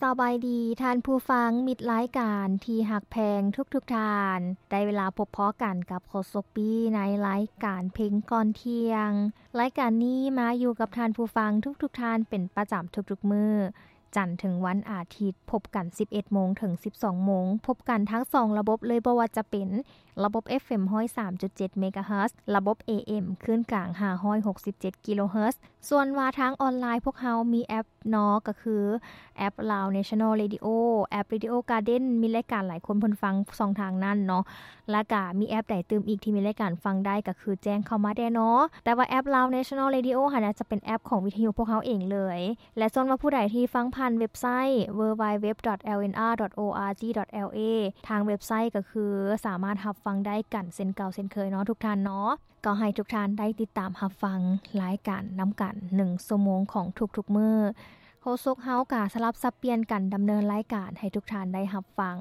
ສະບາຍດີທ່ານຜູ້ຟັງ ມິດລາຍການທີ່ຮັກແພງທຸກໆທ່ານ. ໄດ້ເວລາພົບພໍ້ກັນກັບໂຄສົກປີ້ໃນລາຍການເພງກ່ອນທ່ຽງ. ລາຍການນີ້ມາຢູ່ກັບທ່ານຜູ້ຟັງທຸກໆທ່ານເປັນປະຈຳທຸກໆມື້ ຈັນເຖິງວັນອາທິດ ພົບກັນສິບເອັດໂມງເຖິງສິບສອງໂມງ. ພົບກັນທັງສອງລະບົບເລີຍ ບໍ່ວ່າຈະເປັນລະບົບ ເອັຟເອັມ ຮ້ອຍສາມຈຸດເຈັດ ເມກາເຮີດ ລະບົບ ເອເອັມ ຄື້ນກາງ ຫ້າຮ້ອຍຫົກສິບເຈັດ ກິໂລເຮີດ. ສ່ວນວ່າທາງອອນລາຍ ພວກເຮົາມີແອັບເນາະ ກໍຄືແອັບ Lao National Radio ແອັບ Radio Garden ມີລາຍການຫຼາຍຄົນເພິ່ນຟັງຊ່ອງທາງນັ້ນເນາະ. ແລ້ວກະມີແອັບໃດຕື່ມອີກທີ່ມີລາຍການຟັງໄດ້ ກໍຄືແຈ້ງເຂົ້າມາແດ່ເນາະ. ແຕ່ວ່າແອັບ Lao National Radio ຫັ້ນນະ ຈະເປັນແອັບຂອງວິທະຍຸພວກເຮົາເອງເລີຍ. ແລະ ສ່ວນວ່າຜູ້ໃດທີ່ຟັງຜ່ານເວັບໄຊ www.lnr.org.la ທາງເວັບໄຊກໍຄືສາມາດຮັບຟັງໄດ້ກັນເຊັ່ນເກົ່າເຊັ່ນເຄີຍເນາະທຸກທ່ານເນາະ. ກໍໃຫ້ທຸກທ່ານໄດ້ຕິດຕາມຮັບຟັງລາຍການນຳກັນໜຶ່ງຊົ່ວໂມງຂອງທຸກໆມື້. ໂຄສົກເຮົາກະສະຫຼັບສັບປ່ຽນກັນດຳເນີນລາຍການໃຫ້ທຸກທ່ານໄດ້ຮັບຟັງ.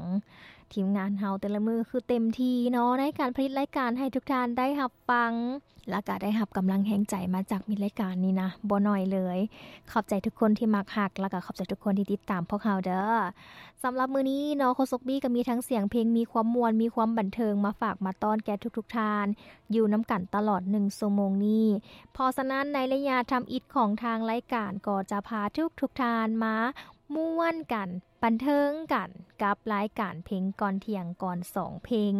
ທີມງານເຮົາແຕ່ລະມື້ຄືເຕັມທີ່ເນາະ ໃນການຜະລິດລາຍການໃຫ້ທຸກທ່ານໄດ້ຮັບຟັງ ແລ້ວກະໄດ້ຮັບກຳລັງແຮງໃຈມາຈາກມິດລາຍການນີ້ນະ ບໍ່ໜ້ອຍເລີຍ. ຂອບໃຈທຸກຄົນທີ່ມັກຮັກ ແລ້ວກະຂອບໃຈທຸກຄົນທີ່ຕິດຕາມພວກເຮົາເດີ. ສຳລັບມື້ນີ້ເນາະ ໂຄສົກປີ້ກໍມີທັງສຽງເພງ ມີຄວາມມ່ວນ ມີຄວາມບັນເທີງມາຝາກມາຕ້ອນແກ່ທຸກໆທ່ານ ຢູ່ນຳກັນຕະຫຼອດໜຶ່ງຊົ່ວໂມງນີ້. ເພາະສະນັ້ນ ໃນໄລຍະທຳອິດຂອງທາງລາຍການ ກໍຈະພາທຸກໆທ່ານມາມ່ວນກັນ ບັນເທີງກັນກັບລາຍການເພງກ່ອນທ່ຽງກ່ອນສອງເພງ.